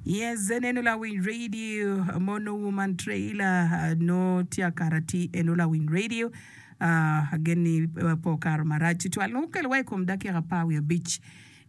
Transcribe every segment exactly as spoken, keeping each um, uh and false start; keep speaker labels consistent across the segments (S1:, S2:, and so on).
S1: Yes, eno lawiny radio mono woman trailer no tye akato atir eno lawiny radio uh, agen ni pe okato marac tutwal nongo okelo wa i kom dakika apar wiye abic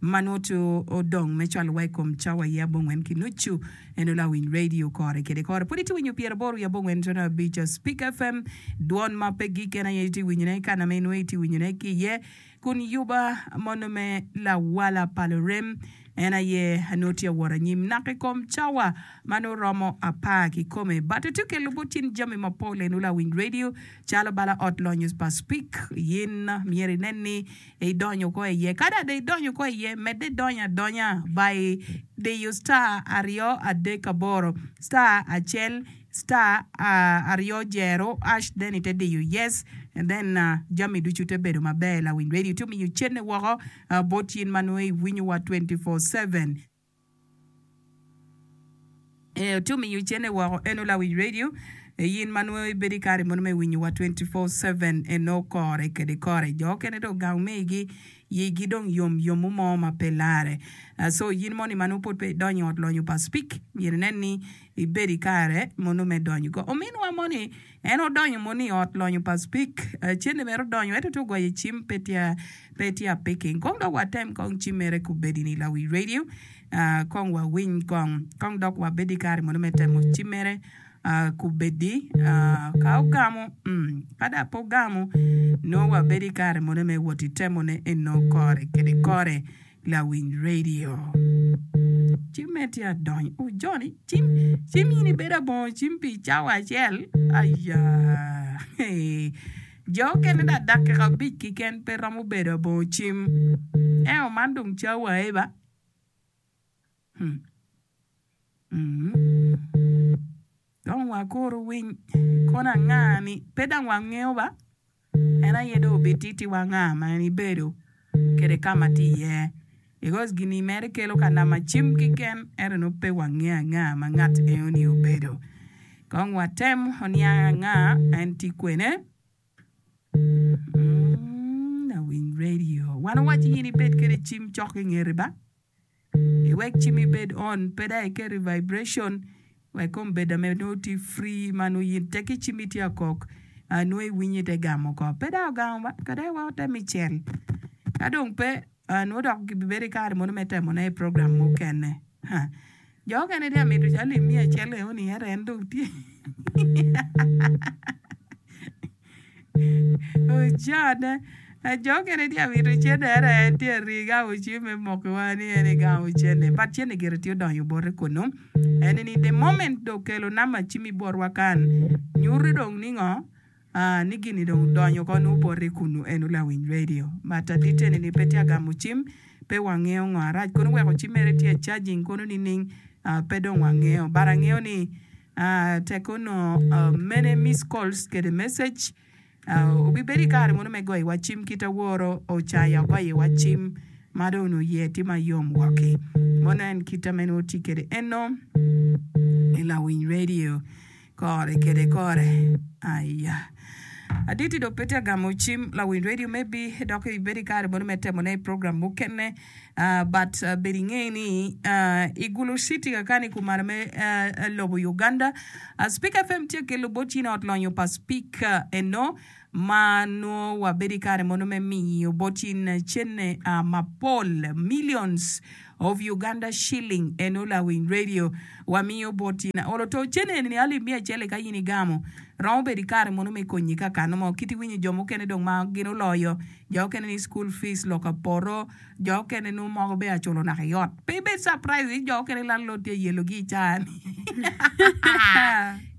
S1: ma nongo tye odong me cwalo wa i kom cawa aye abongwen ki nucu eno lawiny radio kore kede kore pud itye winyo pyeraboro wiye abongwen tono abic Speak F M dwon ma pe gik en aye itye winyone kana ma inongo itye winyone ki iye kun yuba mono me lawala pa lurem en aye nongo tye awot anyim naka i kom cawa ma nongo romo apar kikome but atye kelo bot cin jami mapol eno lawiny radio calo bala ot lonyo pa Speak yin myero inen ni idonyo ko iye kadi ada idonyo ko iye medde idonyo adonya by diyo star aryo adek aboro star acel star uh, aryo jero hash, then ite diyo yes and then uh, jami ducu te bedo maber. Lawiny radio tye omiyo cene woko uh, bot yin ma nongo iwinyowa twenty-four seven. Eh, tye omiyo cene woko eno lawiny radio yin ma nongo ibedo i kare mono me winyowa twenty-four seven eno kore kede kore jo okene dong gang megi yigi dong yom yomo mo ma pe lare. Uh, so yin moni ma nongo pod pe idonyo i ot lonyo pa Speak myero inen ni ibedo i kare mono me donyo ko ominwa moni en odonyo mono i ot lonyo pa Speak uh, cene mere odonyo ento tye ogoyo cim pe tye pe tye apicking kong dok watem kong cim mere kubedi ni lawiny radio uh, kong wawiny kong kong dok wabed i kare mono me temo cim mere uh, kubedi uh, ka ogamo mm, ka da pe ogamo nongo wabedo i kare mono me wot i temone eno kore kede kore lawiny radio cim me tye adonyo oh, Johnny cim cim in ibedo abongo cim pi cawa acel aya. Hey. Jo okene da dakika abic kiken pe romo bedo abongo cim eo man dong cawa eba hmm. mm. Dong wakuru winy kono anga ni pe dang wangeo ba en aye dong obititiwa nga ma en ibedo kede kama tye iye because gini mere kelo ka nama cim kiken ento nongo pe wangeo anga ma ngat enoni obedo. Kong watem oniang anga en tye kwene mm, lawiny radio wan owaci in ibed kede cim cok i ngeti ba iwek cim ibed on pe dong iket i vibration wek kombeddi ame nongo tye free ma nongo yin teki cimmi tye akok uh, nongo iwinyo ite gamo oko pe dong ogamo ba kade wa otem icel ka dong pe uh, nongo dok gibibedo i kare mono me temone i program mukene ha. Jo okene tye amito alip miya acel eno-ni ento en dong tye ocone jo okene tye amito cene ento en tye ari gamo cim me mokiwa ni en egamo cene but cene gire tye odonyo bote kunu en ni the moment dong okelo namba cimmi botwa kan nyuto dong ni ngo uh, ni gini dong odonyo ko nongo bote kunu eno lawiny radio but adit eni ni pe tye agamo cim pe wangeo ngo arac kono weko cim mere tye charging kono nining uh, pe dong wangeo but angeo ni uh, tek ono uh, many miss calls kede message uh, obibedo i kare mono me goyo iwa cim kit aworo ocaya ogoyo iwa cim ma dong onongo iye tye mayom woki mono en kite ame nongo tye kede eno i lawiny radio kore kede kore aya aditi dong pe tye agamo cim lawiny radio maybe dok ibedo i kare mono me temone i program mukene uh, but uh, bed inge ni uh, i Gulu City kakani kumalo me uh, lobo Uganda uh, Speak F M tye kelo bot in ot lonyo pa Speak uh, eno ma nongo wabedo i kare mono me miyo bot in cene uh, mapol millions of Uganda shilling eno lawiny radio wamiyo bot in olo to cene ni alip miya acel ka in igamo romo bedo i kare mono me konyi ka kano mo kit iwinyo jo mukene dong ma gin oloyo jo okene ni school fees loka poto jo okene nongo moko be aculo naka i ot pe ibed surprise ni jo okene landlord tye yelogi i caa ni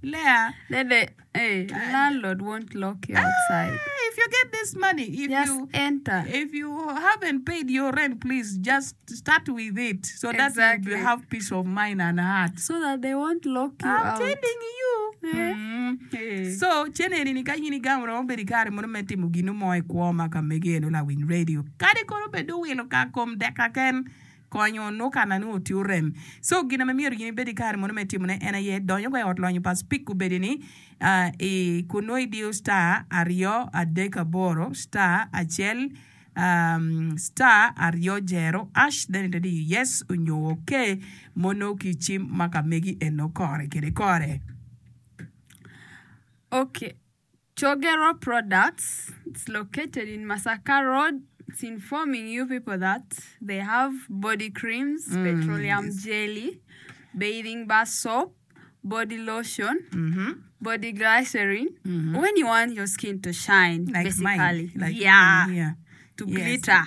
S1: Lea.
S2: Then hey, landlord won't lock you outside.
S1: Ah, if you get this money, if
S2: Just
S1: you
S2: enter.
S1: If you haven't paid your rent, please just start with it so that you
S2: Exactly.
S1: will have peace of mind and heart.
S2: So that they won't lock you
S1: I'm
S2: out.
S1: telling you.
S2: Eh?
S1: Mm.
S2: Eh.
S1: So cene ni ka in igamo romo bedo i kare mono me timo gino mo i kwo ma ka megi eno lawiny radio kadi kono bed owilo ka kom deka ken konyo no kana ni oti orem so gina ma myero gin ibed i kare mono me timone en aye donyo ko i ot lonyo pa Speak obedi ni uh, i kun nongo idiyo star aryo adek aboro star acel. um, star aryo jero hash then ite diyo yes onyo okay mono ki cim ma ka megi eno kore kede kore.
S2: Okay. Chogero Products, it's located in Masaka Road. It's informing you people that they have body creams,
S1: Mm,
S2: petroleum
S1: yes.
S2: jelly, bathing bar soap, body lotion,
S1: Mm-hmm.
S2: body glycerin.
S1: Mm-hmm.
S2: When you want your skin to shine,
S1: Like mine,
S2: basically.
S1: like mine
S2: Yeah,
S1: here.
S2: to
S1: Yes.
S2: glitter.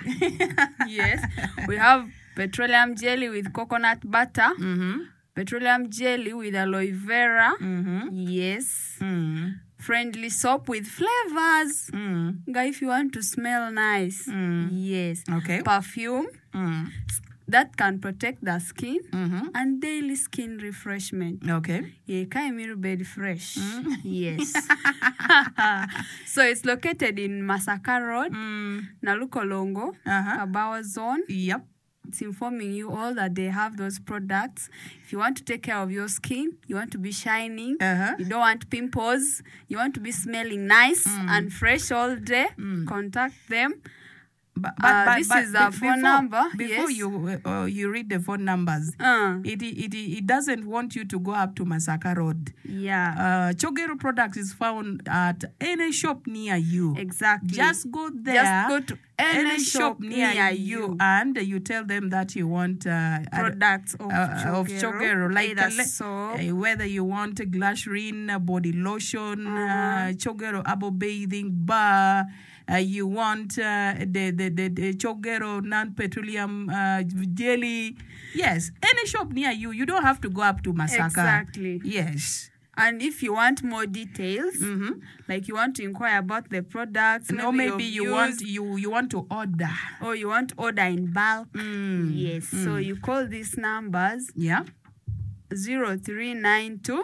S2: Yes. We have petroleum jelly with coconut butter,
S1: Mm-hmm.
S2: petroleum jelly with aloe vera.
S1: Mm-hmm.
S2: Yes.
S1: Mm.
S2: Friendly soap with flavors.
S1: Mm.
S2: Nga if you want to smell nice.
S1: Mm.
S2: Yes.
S1: Okay.
S2: Perfume
S1: Mm.
S2: that can protect the skin
S1: Mm-hmm.
S2: and daily skin refreshment.
S1: Okay.
S2: Yeah, Kaimiru bed fresh.
S1: Mm.
S2: Yes. So it's located in Masaka Road,
S1: Mm.
S2: Nalukolongo,
S1: Uh-huh.
S2: Kabawa Zone.
S1: Yep.
S2: It's informing you all that they have those products. If you want to take care of your skin, you want to be shining,
S1: Uh-huh.
S2: you don't want pimples, you want to be smelling nice
S1: Mm.
S2: and fresh all day,
S1: Mm.
S2: contact them.
S1: But, but,
S2: Uh,
S1: but,
S2: this
S1: but
S2: is our
S1: be-
S2: phone
S1: before,
S2: number.
S1: Before
S2: Yes.
S1: you uh, you read the phone numbers,
S2: Uh,
S1: it, it, it doesn't want you to go up to Masaka Road.
S2: yeah,
S1: Uh, Chogero Products is found at any shop near you.
S2: exactly.
S1: Just go there.
S2: Just go to any,
S1: any
S2: shop
S1: shop near
S2: near
S1: you,
S2: you.
S1: and you tell them that you want uh,
S2: Products of
S1: uh, of
S2: Chogero,
S1: Chogero, like
S2: either
S1: uh, le-
S2: soap.
S1: uh, whether you want glycerin, uh, body lotion,
S2: Uh-huh.
S1: uh, Chogero abo bathing bar, uh, you want uh, the, the, the, the Chogero non-petroleum uh, jelly. Yes, any shop near you. You don't have to go up to Masaka.
S2: Exactly.
S1: Yes.
S2: And if you want more details,
S1: Mm-hmm.
S2: like you want to inquire about the products,
S1: No,
S2: maybe
S1: maybe
S2: you've
S1: you want
S2: used,
S1: you you want to order.
S2: or you want order in bulk.
S1: Mm.
S2: Yes. So
S1: Mm.
S2: you call these numbers
S1: Yeah.
S2: zero three nine two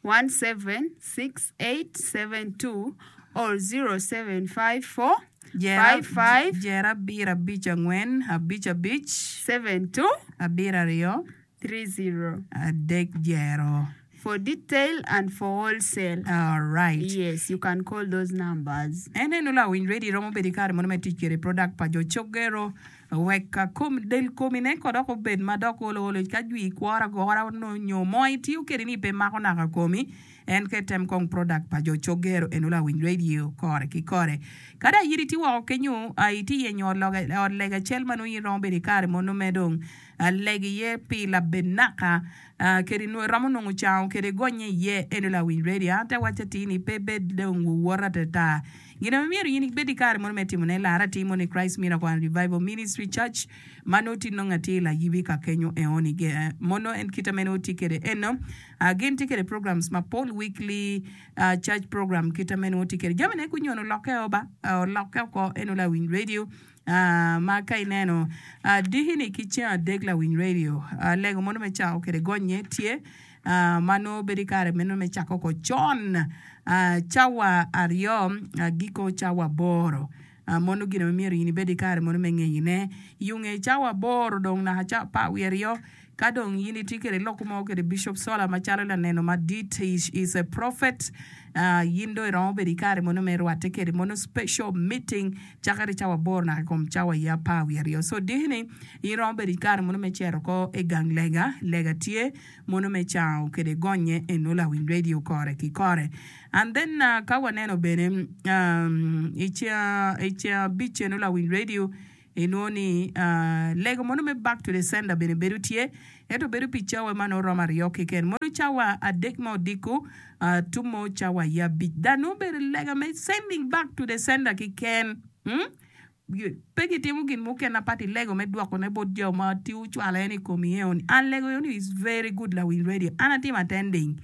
S2: one seven six eight seven two or zero seven five four
S1: Jera,
S2: five five
S1: Jera abiro abich ang'wen abich abich
S2: seven two
S1: abiro ariyo
S2: three zero
S1: adek jero.
S2: for detail and for wholesale.
S1: All right.
S2: Yes, you can call those numbers.
S1: En eno lawiny ready romo bedo i kare mono me tic kede product pa jo Chogero wek kom del komine ko dok obed ma dok olo olo ka jwi kwora gora no nyo mo itiyo kede ni pe mako naka komi en ke tem kong product pa jo Chogero eno lawiny radio kore ki kore. Kada in itye woko kenyo uh, itye yenyo ot loge- ot lega acel ma nongo in iromo bedo i kare mono me dong uh, lego iye pi labed naka uh, kede nwo iromo nongo cango kede gonye iye eno lawiny radio an te waco atir ni pe bed dong wuwota atata gin ma myero in ibed i kare mono me timone lara timo ni Christ Miracle and Revival Ministry Church ma nongo tye nongo atir layibi ka kenyo eoni Ge- mono en kite ma nongo tye kede eno uh, gin tye kede programs mapol weekly uh, church program kite ma nongo tye kede jamine kunyono olokke o ba uh, olokke oko eno lawiny radio Uh, ma ka ineno uh, dikini ki ceng adek lawiny radio uh, lego mono me cako kede gonye tye uh, ma nongo bedo i kare meno me cako oko con uh, cawa aryo uh, giko cawa aboro uh, mono gin ma myero in ibed i kare mono me ngeyine yunge cawa aboro dong naka cawa apar wiye aryo ka dong in itye kede lok mo kede Bishop Sola macalo laneno madit is, is a prophet uh, in dong iromo bedo i kare mono me rwatte kede mono special meeting cakere cawa aboro naka i kom cawa ya apar wiye aryo so dikini in iromo bedo i kare mono me cito ko i gang lega lega tye mono me cango kede gonye eno lawiny radio kore ki kore and then uh, ka waneno bene um, i ceng i ceng abic eno lawiny radio inwongo ni uh, lego mono me back to the sender bene bedo tye ento bedo pi cawa ma nongo romo aryo keken mono cawa adek ma odiko uh, tumo cawa ya abic dan nongo bedo lega me sending back to the sender keken hmm? Pe gitimo gin mukene apat i lego me dwokone bot jo ma tye ocwalo en i komi eoni an lego eoni is very good lawiny radio an atimo attending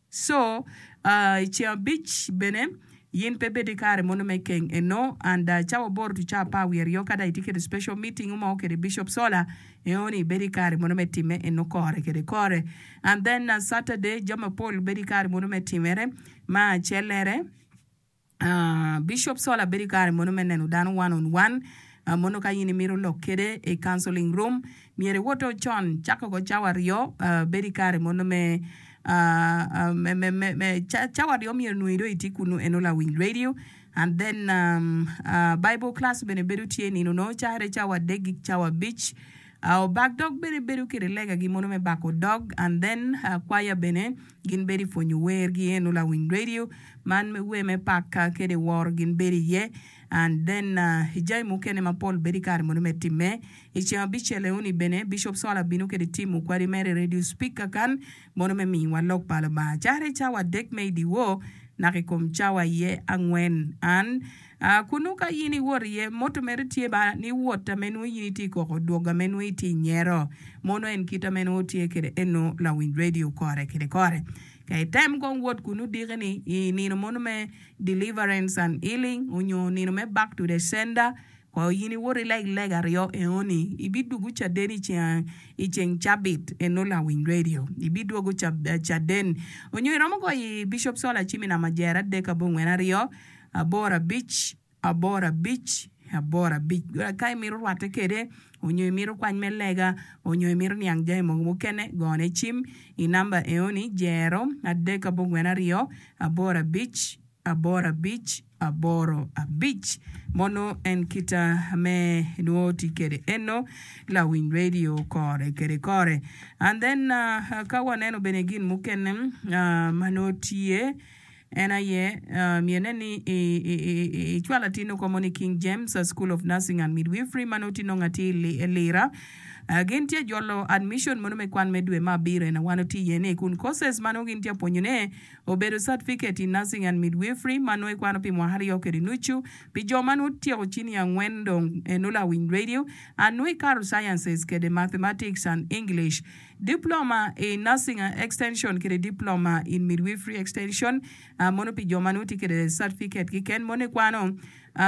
S1: so uh, i ceng abic bene yin pe bedo i kare mono me keng eno and uh, cawa aboro to cawa apar wiye aryo ka dong itye kede special meeting mo kede Bishop Sola eoni bedo i kare mono me time eno kore kede kore and then uh, Saturday jami mapol bedo i kare mono me timere ma acellere Uh, Bishop Sola bedo i kare mono me neno dano one on one uh, mono ka in imito lok kede i counseling room myero iwoto con cako ko cawa aryo uh, bedo i kare mono me uh, uh, me, me, me, me ca- cawa aryo myero nongo dong itye kunu eno lawiny radio And then um, uh, Bible class bene bedo tye nino no cakere cawa adek ki cawa abic. Uh, obak dog bene bedo kede legagi mono me bako dog and then uh, kwaya bene gin bedo i pwonyo wergi eno lawiny radio man me wer me pak kede woro gin bedo iye and then uh, jami mukene mapol bedo i kare mono me timme i ceng abicel eoni bene Bishop Sola bino kede timo kwadi mere radio speaker kan mono me miyowa lok pa Lubanga cakere cawa adek me i dyewor naka i kom cawa iye angwen an uh, kunu ka in iwot iye moto mere tye ba ni wot ame nongo in itye i koko dwogo ame nongo itye i nyero mono en kit ame nongo tye kede eno lawiny radio kore kede kore ka item kong wot kunu diki-ni i nino mono me deliverance and healing onyo nino me back to the sender ko in iwot ileg lega aryo eoni ibidwogo caden i ceng i ceng cabit eno lawiny radio ibidwogo caden onyo iromo goyo i Bishop Sola cim i namba jer adek abongwen aryo aboro abic aboro abic aboro abic ka imito rwatte kede onyo imito kwany me lega onyo imito niang jami mogo mukene gone cim i namba eoni jero adek abongwen aryo aboro abic aboro abic aboro abic mono en kita me nwo tye kede eno lawiny radio kore kede kore and then uh, ka waneno bene gin mukene uh, ma nongo tye en aye uh, myene ni icwalo atin oko mo ni King James School of Nursing and Midwifery ma nongo tye nongo atir i Lira Uh, gin tye jolo admission mono me kwan me dwe ma abiro en wan tye iye ni kun courses ma nongo gin tye pwonyone obedo certificate in nursing and midwifery ma nongo ikwano pi mwaka aryo kede nucu pi jo ma nongo tyeko cini angwen dong eno lawiny radio and nongo ikato sciences kede mathematics and English diploma in nursing extension kede diploma in midwifery extension uh, mono pi jo ma nongo tye kede certificate kiken mono ikwano Uh,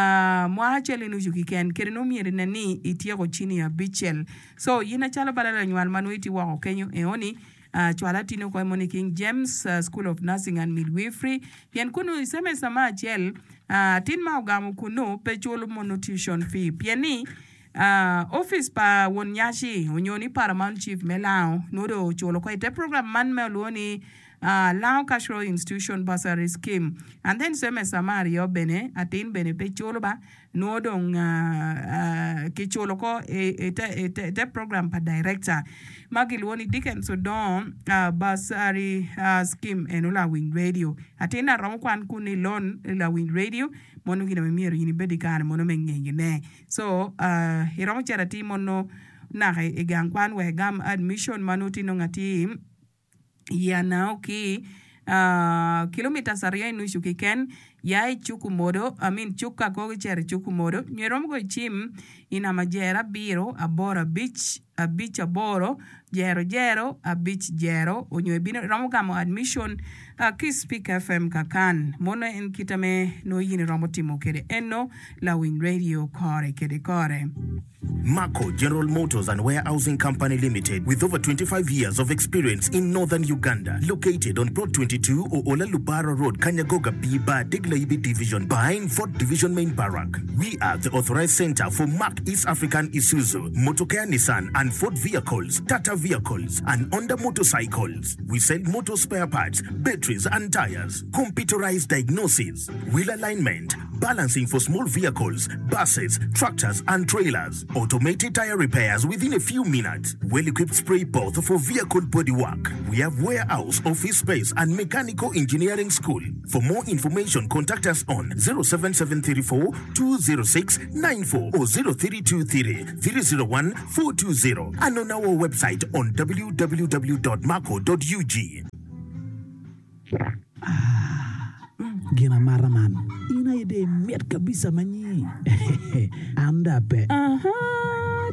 S1: mwaka acel i nucu kiken kede nongo myero inen ni ityeko cini abicel so in acalo bala lanywal ma nongo itye woko kenyo eoni uh, cwal atin oko mo ni King James uh, School of Nursing and Midwifery pien kunu i semester ma acel uh, atin ma ogamo kunu pe culo mono tuition fee pien ni Uh, office pa won nyaci onyo ni paramount chief me Lango nongo dong oculo ko ite program man me olwongo ni uh, Lango Cultural Institution Bursary Scheme and then semester ma aryo bene atin bene pe culo ba nongo dong uh, uh, kiculo ko ite, ite, ite program pa director ma kilwongo ni Dickens Odongo uh, Bursary uh, Scheme eno lawiny radio atin aromo kwan kun i loan lawiny radio mono gin ame myero in ibed i kare mono me ngeyone so uh, iromo cito atir mono naka i gang kwan wek igam admission ma nongo tye nongo atir i anao ki uh, kilometers aryo i nucu kiken ya i cuk omodo I mean cuk ka koko icito i cuk omodo nyo iromo goyo cim i namba jero abiro aboro abic abic aboro jero jero abic jero onyo ibino iromo gamo admission uh, ki Speak F M kakan mono en kita me nongo in iromo timo kede eno lawiny radio kore kede kore.
S3: Marco General Motors and Warehousing Company Limited, with over twenty-five years of experience in northern Uganda, located on Plot twenty-two Oola Lubara Road, Kanyagoga B Bar, Diglaibi Division, behind Fort Division Main Barrack. We are the authorized center for Mark East African Isuzu, Motocare Nissan and Ford vehicles, Tata vehicles, and Honda motorcycles. We sell motor spare parts, batteries and tires, computerized diagnosis, wheel alignment, balancing for small vehicles, buses, tractors, and trailers, automated tire repairs within a few minutes, well-equipped spray booth for vehicle bodywork. We have warehouse, office space, and mechanical engineering school. For more information, contact us on zero seven seven three four two zero six nine four or zero three two three three zero one four two zero and on our website on w w w dot marco dot ug.
S4: Gin amata man in aye de mit kabisa manyi an da pe.
S1: Aha,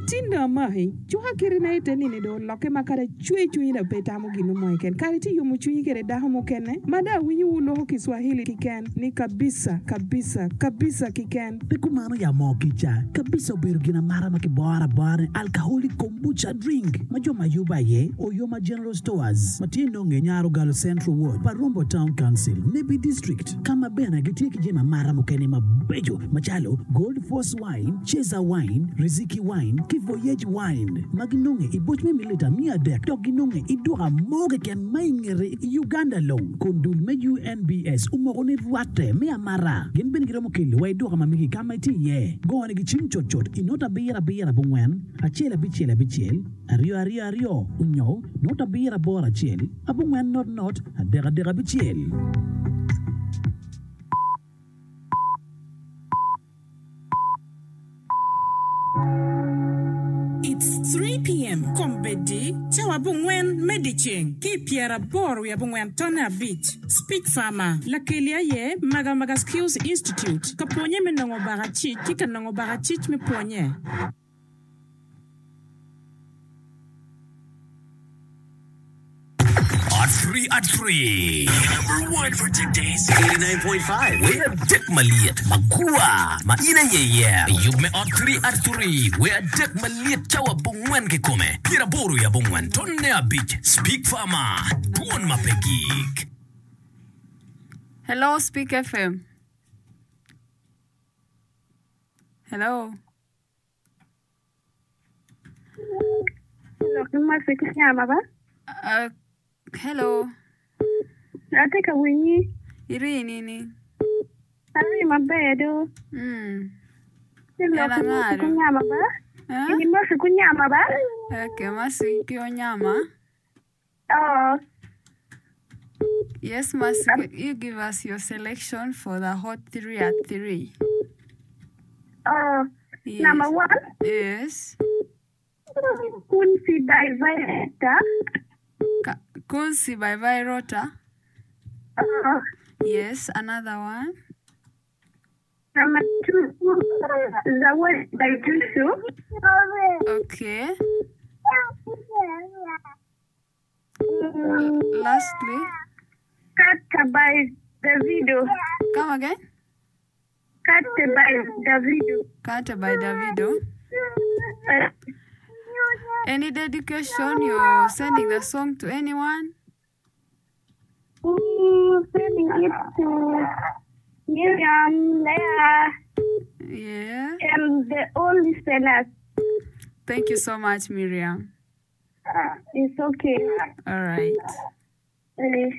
S1: tinda amaki cuka kirina ite nini do olokke ma kadi cwe cwinyi da pe tamo gino mo keken kadi ti yomo cwinyi kede dako mukene ma da awinyo wu loko Kiswahili kiken ni kabisa kabisa kabisa kiken.
S4: Pe kumano ya moo kica kabisa obedo gin amata ma kiboro abora ni alcoholic kombucha drink ma jo ma yubo aye Oyoma General Stores ma tye nonge Nyaro Galo Central Ward Parumbo Town Council Nebbi District ka ma bene gitye ki jami amata mukene mabeco macalo Gold Force Wine, Cheza Wine, Riziki Wine Ki Voyage Wine ma ginonge i boc me mililita miya adek dok ginonge i duka mo keken ma i ngete i Uganda long kun dul me U N B S omoko ni rwatte me amata. Gin bene giromo kelo wa i duka ma megi ka ma itye iye. Gonigi cim cutcut i not abiro abiro abongwen acel abicel abicel aryo aryo aryo onyo not abiro aboro acel abongwen not not adek adek abicel.
S5: It's three P M Kombeddi, cawa abongwen me dyeceng ki i pyeraboro wiye abongwen tonne abic. Speech Farmer, Lakeli aye Magamaga Skills Institute, ka pwonye me nongo bakacic ki ka nongo bakacic me pwonye.
S6: At three at three. Number one for today's eighty-nine point five. Wer adek malyet magwar ma in aye iye. Yub me ot three at three. Wer adek malyet cawa abongwen kikome. Pyeraboro i abongwen tonne abic. Speak Farmer. Dwon ma pe gik.
S2: Hello, Speak F M. Hello.
S7: Lok ma sik nyama ba?
S2: Uh, hello.
S7: Ate ka winyi.
S2: Iri nini?
S7: Ari maber do.
S2: Mm.
S7: Lok
S2: Ela
S7: ma sik
S2: ngaro.
S7: nyama ba?
S2: Eh?
S7: Ini ma sik nyama ba?
S2: Okay, masiki onyama.
S7: Oh.
S2: Yes, Masiki, you give us your selection for the hot three at three.
S7: Oh.
S2: Yes.
S7: Number one.
S2: Yes.
S7: Kunsi by Virota.
S2: Ka- Kunsi by Virota.
S7: Oh.
S2: Yes, another one.
S7: Number two, Zawadi by Jusu.
S2: Okay. L- lastly,
S7: Kata by Davido.
S2: come again.
S7: Kata by Davido.
S2: Kata by Davido.
S7: Uh,
S2: Any dedication? You're sending the song to anyone?
S7: mm, sending it to Miriam, Leah,
S2: Yeah.
S7: and the all listeners.
S2: Thank you so much, Miriam.
S7: Uh, it's okay.
S2: All right.
S7: Uh,